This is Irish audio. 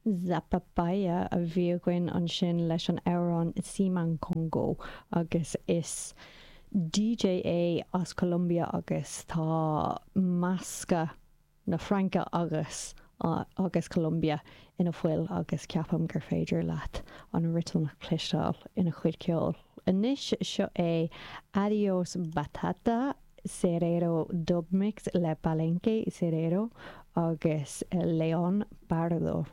Zapapaya a bhí againn ansin leis an amhrán Siman Congo agus is DJ é as Colombia agus tá meascadh na Fraince agus agus Colombia ina fhuil agus ceapaim gur féidir leat an rithim a chloisteáil ina chuid ceoil. Anois seo é Adios Batata Cerrero Dub Mix le Palenque Cerrero agus Leon Pardo.